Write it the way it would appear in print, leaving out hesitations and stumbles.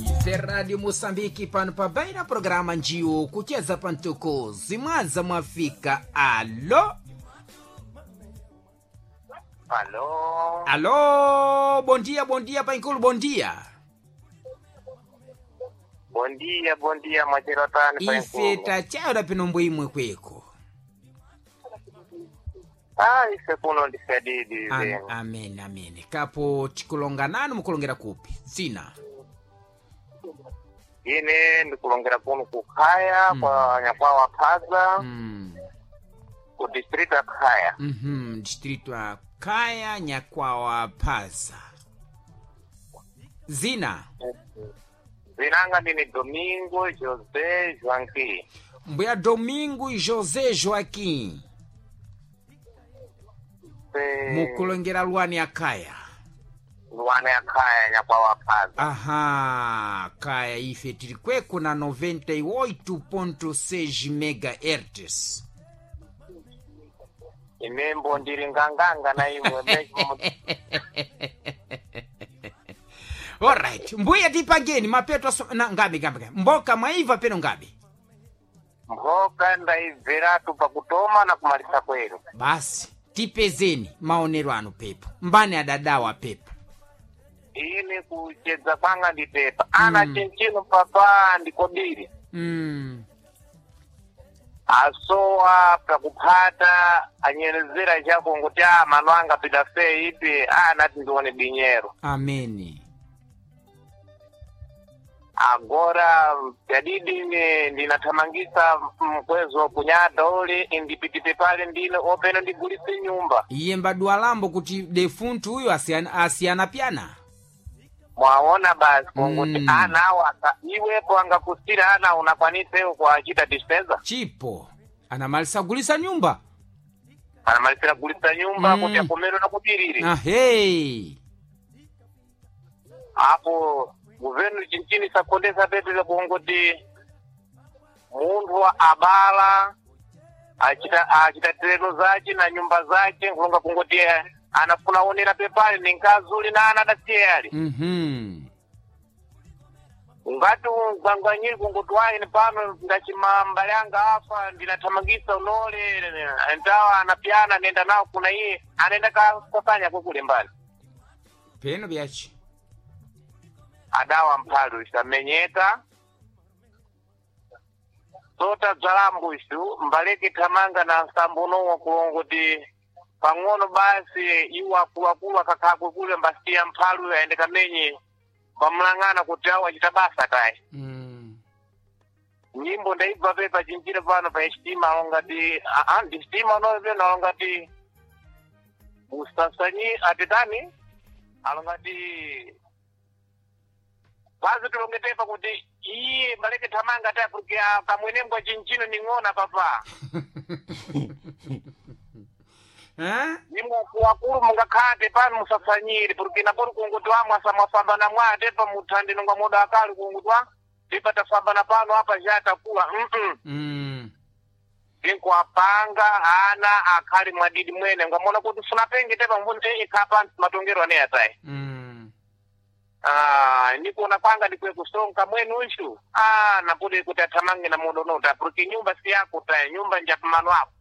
Ife Radio Moçambique pano pa baina programa njiwo kucheza pantuko zimwaza mwafika. Alo. Alô? Alo, bom dia, bom dia, painkulu, bom dia. Bom dia, bom dia, mwachero tani Ife painkulu. tachayora pino mbwimwe kweko. Ah, ife kuno ndisadidi Am, zenu. amen, amen. Kapo tikulonga nanu mukulongera kupi? Zina. Ine ndikulongera kuno kukhaya kwa nyakwawa phaza ku district ya Khaya. Distrito ya Kaya Nyakwawa Phaza. Zina. Zinanga ndini Domingo José Joaquim. Mbuya Domingo José Joaquim. Mukulongera lwani ya Kaya. Luana ya Khaya nyakwawa phaza. Aha, Kaya ife tili kweko na 98.6 megahertz. Inembo ndiri nganganga na imwe mesmo. Alright, mbuya tipangeni mapeto aso, na ngabe ngabe ngabe. Mboka mwaiva peno ngabe. Mboka ndaibveratu pakutoma na kumalisa kwenu. Basi tipezeni maonero anu pepo. Mbani adadawa pepo. Ine kuchedza kwanga ndipepa. Ana chinchino papa ndikodiri. Asowa pakuphata anyerezera chako nguti a mano anga pita fe ipi anati ndione dinyero. Ameni. Agora pyadidi ine ndinathamangisa mkwezo kunyada ule indipitipe pale ndine openo ndigulise nyumba. Iye mbadwa lambo kuti defuntu uyo asiyana, asiyana pyana. Mwaona basi kunguti ana awo iwepo angakusira ana unakwanisewo kuachita dispesa. Chipo anamalisa kugulisa nyumba. Anamalisira kugulisa nyumba kuti akomere na kudirire. Ahei. Apo guvenu chinchini sakondesa petu kungoti munthu abala achita tereno zace na nyumba zace nkulonga kungoti anafuna onera pepale ni nkazi uli na ana adasiye ali. Ngati ungwangwanyiri kungoti waine pano ndachima mbale anga afa ndinathamangisa unole ntawa anapyana nenda nawo kuna iye anaenda kasasanya kukule mbali. Peno byachi. Adawa mphalu isamenyeka tota bzalambo isu mbaleke thamanga na nsambo unowa kulongoti pang'ono basi iwo akuluakulu akakhakwe kule mbasiya mphalu ayende kamenye pamulang'ana kuti awo achita basa tayi. Nyimbo ndaibva pe pachinjira pano pa sitima alongati aa ndi sitima unoyo peno alongati musasanyi atitani alongati basi tilongetepa kuti iye baleke thamanga ta porque kamwenembwa chinchino ning'ona papa. Eh? Nimwe akulu mungakhate pano musasanyire porque napori kunguti wamwe asamwafambana mwate pa muthandi nonga moda akali kunguti wa tipa tafambana pano apa zhatakula tinkuapanga ana akhali mwadidi mwene ngamona kuti funapenge tepa mbonte ikhapa matongero ane atayi. Ah, nikuona kwanga ndikwe kusonka mwenu ushu ah napudi kuti athamange na modo nota porque nyumba si yako ta nyumba njapamano ako.